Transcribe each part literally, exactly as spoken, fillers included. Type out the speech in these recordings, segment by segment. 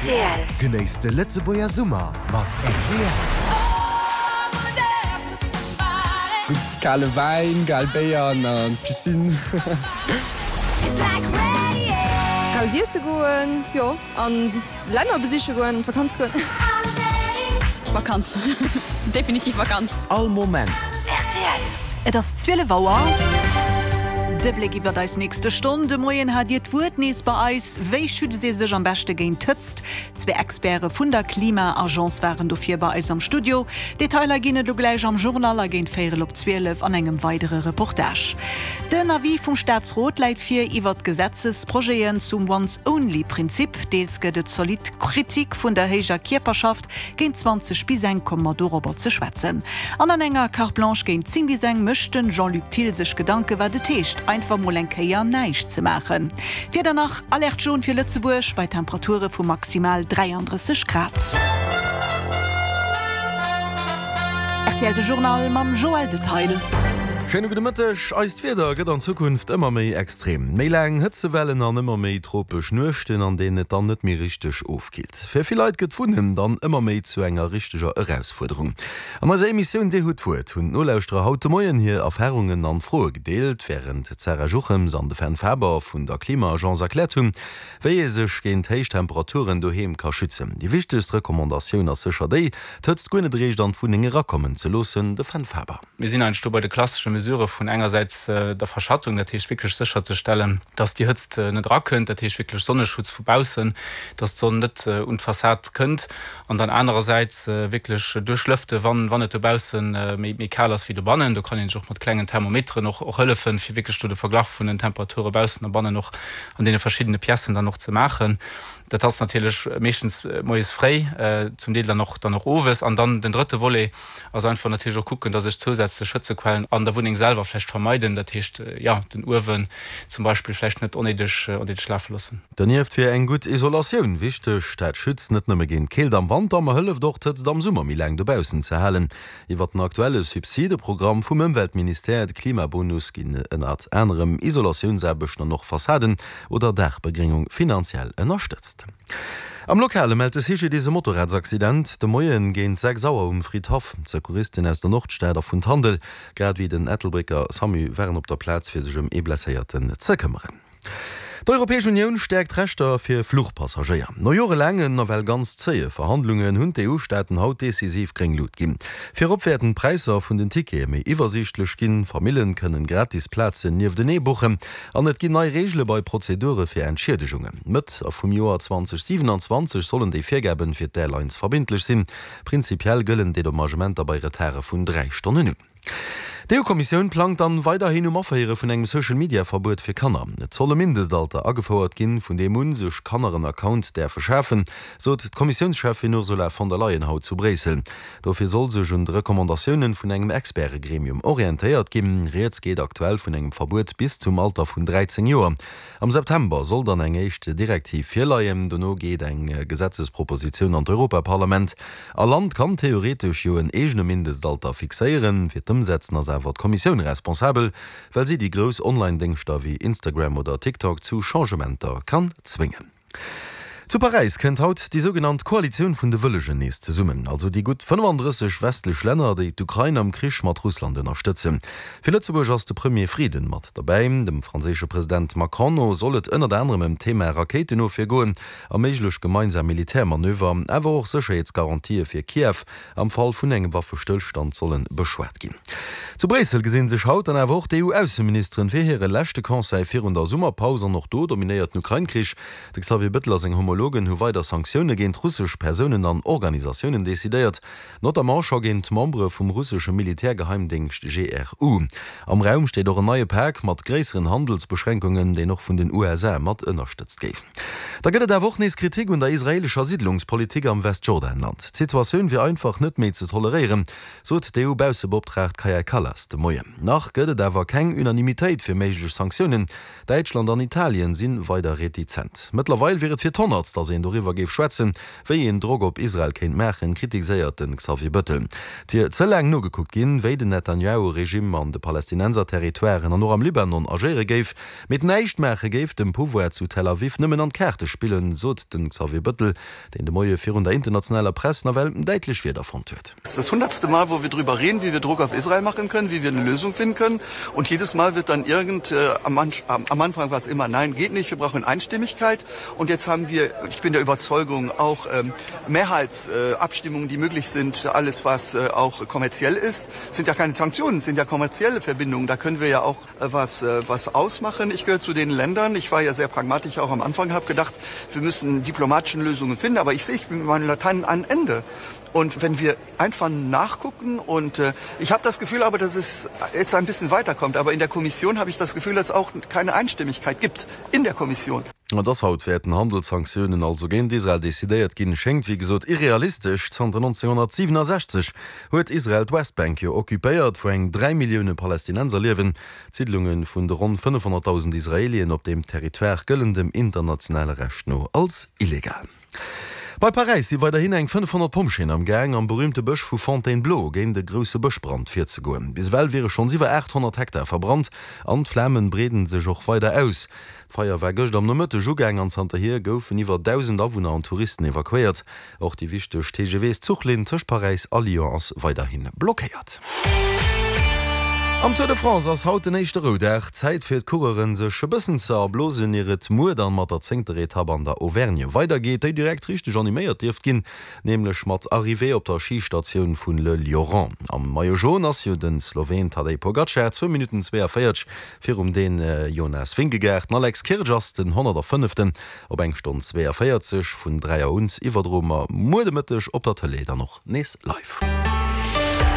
Rtl. Genéisst de Lëtzebuerger Summer mat rtl. Gutt kale Wäin, kal Béier an an d'Piscine. Raus iesse goen, jo, an Länner besiche goen, an d'Vakanz goen. Vakanz. Definitiv Vakanz. All Moment. Rtl. Et ass zwielef Auer. De Bléck iwwer eis nächste Stonn. De Moien hat Dir d'Wuert nees bei eis. Wéi schützt ee sech am beschte géint d'Hëtzt? Zwee Experte vun der Klima-Agence waren dofir bei eis am Studio. Detailer ginn et lo gläich am Journal a géint véierel op zwielef an engem weidere Reportage. Den Avis vum Staatsrot läit vir iwwer d'Gesetzesprojeten zum Once-Only-Prinzip. Deels gëtt et zolidd Kritik vun der héijer Kierperschaft. Géint zwanzeg bis eng komme mer dorobber ze schwätzen. An an enger Carte Blanche géint zéng bis eng mécht den Jean-Luc Thill sech Gedanke wat et heescht, einfach mol eng Kéier näischt ze maachen. D'Wieder nach, Alerte jaune fir Lëtzebuerg bei Temperature vu maximal dräiandrësseg Grad. Rtl De Journal mam Joël Detail. Schéine gudde Mëtteg. Eist Wieder gëtt an Zukunft ëmmer méi extrem. Méi laang Hëtzewellen an ëmmer méi tropesch Nuechten, an deenen et dann net méi richteg ofkillt. Fir vill Leit gëtt d'Wunnen dann ëmmer méi zu enger richteger Erausfuerderung. An eiser Emissioun Dir hutt d'Wuert hunn d'Nolauschterer haut de Moien hir Erfarungen an Froe gedeelt, wärend d'Sarah Juchems an de Fern Faber vun der Klima-Agence erkläert hunn, wéi ee sech géint héich Temperaturen doheem ka schützen. Déi wichtegst Recommandatioun ass sécher déi, d'Hëtzt guer net eréischt an d'Wunneng erakommen ze loossen. De Fern Faber. Mir sinn eigentlech do bei de klassesche Mesurë vun engersäits der Verschattung, dat heescht wierklech sécherzestellen, dass déi Hëtzt net erakënnt, dat heescht wierklech Sonneschutz vu baussen, dass d'Sonn net un d'Fassad kënnt, an dann anerersäits wierklech duerchlëfte wann wann et dobausse méi méi kal ass wéi dobannen. Do kann een sech och mat klengen Thermometeren och och hëllefen, fir wierklech do de Verglach vun den Temperature baussen a bannen och an deene verschiddene Piècen dann och ze maachen. Dat ass natierlech meeschtens moies fréi, zum Deel dann och dann och owes. An dann den drëtte Volet ass einfach natierlech och kucken, dass ech zousätzlech Hëtzequellen an der Wunneng selwer vläicht vermeiden, dat heescht, jo, den Uewen zum Beispill vläicht net onnéideg onnéideg lafe loossen. Donieft wier eng gutt Isolatioun wichteg. Dat schützt net nëmme géint d'Keelt am Wanter, ma hëlleft och, d'Hëtzt am Summer méi laang dobaussen ze halen. Iwwer den aktuelle Subsideprogramm vum Ëmweltministère, de Klimabonus, ginn ënnert anerem Isolatiounsaarbechten an och Fassaden oder Daachbegréngung finanziell ënnerstëtzt. Am Lokale mellt de C G D S e Motorradsaccident de Moien géint sechs Auer um Fridhaff. D'Secouristen aus der Nordstad a vun Tandel, grad ewéi den Ettelbrécker Samu waren op der Plaz fir sech ëm ee Blesséierten ze këmmeren. D'Europäesch Unioun stäerkt d'Rechter fir Fluchpassagéier. No jorelaangen, nawell ganz zéie Verhandlungen hunn d'E U-Staaten haut decisiv gréng Lut ginn. Virop wäerten d'Präisser vun den Tickete méi iwwersiichtlech ginn, Famillen kënnen gratis Plazen nieftenee buchen an et ginn nei Reegele bei Prozedure fir Entschiedegungen. Mëtt vum Joer zweedausendsiwenanzwanzeg sollen déi Virgaben fir d'Airlines verbindlech sinn. Prinzipiell gëllen Dedommagementer bei Retarde vun dräi Stonnen un. D'E U-Kommissioun plangt dann weiderhin um Aféiere vun engem Social-Media-Verbuet fir Kanner. Et soll e Mindestalter agefouert ginn, vun deem un sech Kanner en Account däerfe schafen, sot d'Kommissiounscheffin Ursula von der Leyen haut zu Bréissel. Dofir soll sech un de Recommandatiounen vun engem Experte-Gremium orientéiert ginn. Rieds geet aktuell vun engem Verbuet bis zum Alter vun dräizéng Joer. Am September soll dann eng éischt Direktiv virleien, dono geet eng Gesetzespropositioun an d'Europaparlament. All Land kann theoretesch jo en eegene Mindestalter fixéieren, fir d'Ëmsetzen ass awer d'Kommissioun responsabel, well si déi grouss Online-Déngschter wéi Instagram oder TikTok zu Changementer kann zwéngen. Zu Paräis kënnt haut déi sougenannt Koalitioun vun de Wëllegen nees zesummen, also déi gutt fënnefandrësseg westlech Länner, déi d'Ukrain am Krich mat Russland ënnerstëtzen. Fir Lëtzebuerg ass de Premier Frieden mat derbäi. Dem franséische President Macron no soll et ënnert anerem ëm d'Thema Rakéitenofwier goen a méiglech gemeinsam Militärmanöver, awer och Sécherheetsgarantië fir Kiew am Fall vun engem Waffestëllstand solle beschwat ginn. Zu Bréissel gesinn sech haut dann awer och d'E U-Ausseministeren fir hire leschte Conseil virun der Summerpaus an och do dominéiert den Ukrain-Krich. De Xavier Bettel a seng Homologen hu weider Sanktioune géint russesch Persounen an Organisatiounen decidéiert, notamment scho géint Membere vum russesche Militärgeheimdéngscht G R U. Am Raum steet och en neie Pak mat gréisseren Handelsbeschränkungen, deen och vun den U S A mat ënnerstëtzt géif. Da gëtt et awer och nees Kritik un der israeelescher Siddlungspolitik am Westjordanland. D'Situatioun wier einfach net méi ze toleréieren, sot d'E U-Baussebeoptraagt Kaja Kallas de Moien. Nach gëtt et awer keng Unanimitéit fir méiglech Sanktiounen. Däitschland an Italien si weider retizent. Mëttlerweil wier et fir d'honnertst datt een doriwwer géif schwätzen, wéi een Drock op Israel kéint maachen, kritiséiert de Xavier Bettel. Et wier ze laang nogekuckt ginn, wéi den Netanjahu-Regimm an de Palästinenser-Territoiren an och am Libanon agéiere géif. Mee d'Näischtmaache géif dem Pouvoir zu Tel Aviv nëmmen an d'Kaarte spillen, sot de Xavier Bettel, deen de Moie virun der internationaler Press nawell däitlech Wierder fonnt huet. Es ist das hundertste Mal, wo wir drüber reden, wie wir Druck auf Israel machen können, wie wir eine Lösung finden können. Und jedes Mal wird dann irgend, äh, am, am Anfang war es immer, nein, geht nicht, wir brauchen Einstimmigkeit. Und jetzt haben wir, ich bin der Überzeugung, auch ähm, Mehrheitsabstimmungen, äh, die möglich sind, alles was äh, auch kommerziell ist, sind ja keine Sanktionen, sind ja kommerzielle Verbindungen. Da können wir ja auch äh, was, äh, was ausmachen. Ich gehöre zu den Ländern, ich war ja sehr pragmatisch auch am Anfang, habe gedacht, wir müssen diplomatischen Lösungen finden, aber ich sehe, ich bin mit meinen Latein an Ende. Und wenn wir einfach nachgucken und äh, ich habe das Gefühl aber, dass es jetzt ein bisschen weiterkommt, aber in der Kommission habe ich das Gefühl, dass es auch keine Einstimmigkeit gibt in der Kommission. Dass haut wäerten Handelssanktiounen also géint Israel decidéiert ginn, schéngt wéi gesot irrealistesch. Zanter nonzénghonnertsiwenensechzeg huet Israel d'Westbank jo occupéiert, wou eng dräi Millioune Palästinenser liewen. D'Siidlunge vun de ronn fënnefhonnertdausend Israelien op deem Territoire gëllen dem internationale Recht no als illegal. Bei Paräis si weiderhin eng fënnefhonnert Pompjeeën am Gaang, am berüümte Bësch vu Fontainebleau géint e grousse Bëschbrand virzegoen. Bis ewell wiere schonns iwwer aathonnert Hektar verbrannt an d'Flamen breeden sech och weider aus. D'Feier war gëscht am Nomëtteg ugaang an zanterhier goufen iwwer dausend Awunner an Touristen evakuéiert. Och déi wichteg T G V-Zuchlinn tëscht Paräis a Lyon ass weiderhi blockéiert. Am Tour de France ass haut den éischte Roudag. Zäit fir d'Coureuren sech e bëssen ze erblosen, ier et muer dann mat der zéngter Etapp an der Auvergne weidergeet, déi direkt richteg animéiert dierft ginn, nämlech mat Arrivée op der Schistatioun vun Le Lioran. Am Maillot Jaune ass jo den Sloween Tadej Pogacar, zwou Minutten zweeënvéierzeg virum Dän Jonas Vingegaard. Den Alex Kirsch ass den honnertfënneften op eng Stonn zweeënvéierzeg. Vun dräi Auer un iwwerdroe mer muer de Mëtteg op der Tëlee dann och nees live.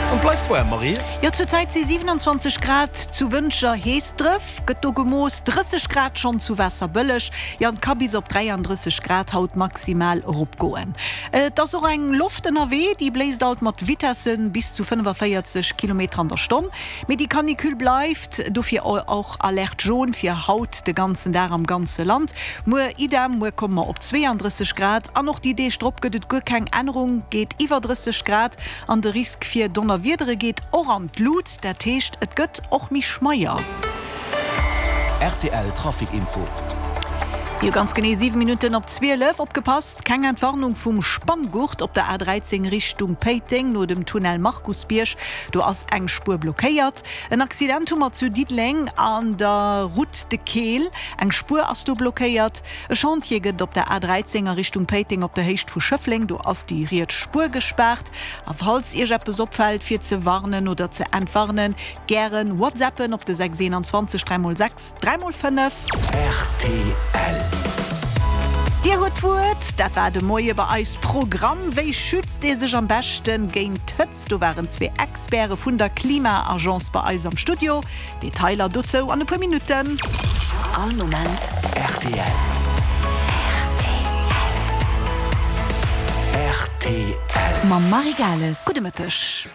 An bleift waarm, Marie? Jo, zur Zäit si siewenanzwanzeg Grad zu Wëntger, Heesdref gëtt do gemooss, drësseg Grad schonn zu Waasserbëlleg, jo an et ka bis op dräiandrësseg Grad haut maximal eropgoen. Et ass och eng Loft ënnerwee, déi bléist alt mat Vitesse bis zu fënnefavéierzeg Kilometer an der Stonn. Mee déi Canicule bleift, dofir och Alerte jaune fir haut de ganzen Dag am ganze Land. Muer idem, muer komme mer op zweeandrësseg Grad an och déi Deeg drop gëtt et guer keng Ännerung, geet iwwer drësseg Grad an de Risk fir Donnerwiedere geet och an d'Lut, dat heescht et gëtt och méi schmeier. Rtl Trafic Info. Jo, ganz genee siwe Minutten op zwielef. Opgepasst, keng Entwarnung vum Spanngurt op der A dräizéng Richtung Péiteng no dem Tunnel Markusbierg, do ass eng Spuer blockéiert. En Accident hu mer zu Diddeleng an der Route de Keel, eng Spuer ass do blockéiert. E Chantier gëtt op der A dräizéng a Richtung Péiteng op der Héicht vu Schëffleng, do ass déi riets Spuer gespaart. A falls Iech eppes opfält fir ze warnen oder ze entwarnen, gären whatsappen op de sechs eenanzwanzeg dräi mol sechs dräi mol fënnef. Rtl. Dir hutt d'Wuert, dat war de Moie bei eis Programm. Wéi schützt ee sech am beschte géint d'Hëtzt? Do waren zwee Experte vun der Klima-Agence bei eis am Studio. Detailer dozou an e puer Minutten. All Moment rtl. Rtl. Mam Marie Gales. Gudde Mëtteg.